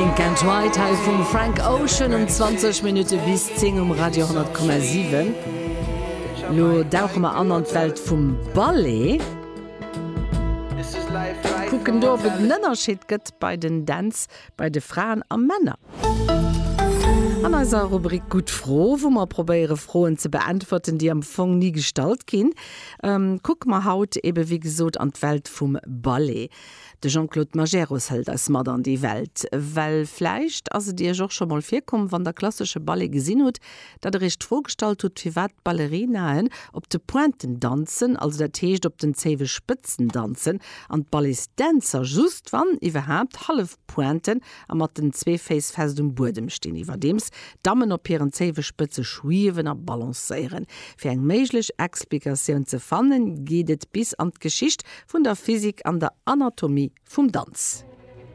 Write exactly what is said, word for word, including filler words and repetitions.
Pink and White hei vum Frank Ocean um zwanzeg Minutte bis zéng um Radio honnert Komma siwen. Lo dauche mer an an d'Welt vum Ballet. Kucken do, ob et en Ënnerscheed gëtt bei den Dänz bei de Fraen a Männer. An eiser Rubrik Gutt Fro, wou mer probéiere Froen ze beäntwerten, déi am Fong ni gestallt ginn, kucke mer haut ebe wéi gesot an d'Welt vum Ballet. De Jean-Claude Majerus hëlt eis mat an déi Welt. Well vläicht ass et Iech och scho mol virkomm, wann der klassesche Ballet gesinn hutt, datt der Iech d'Fro gestallt hutt, firwat d'Ballerinaen op de Pointen danzen, also dat heescht op den zéiwe Spëtzen danzen, an d'Balletsdänzer just, wann iwwerhaapt, hallef Pointen a mat den zwee Féiss fest um Buedem stinn, iwwerdeems d'Dammen op hiren zéiwe Spëtze schwiewen a balancéieren. Fir eng méiglech Explikatioun ze fannen, geet et bis an d'Geschicht vun der Physik an der Anatomie vum Danz.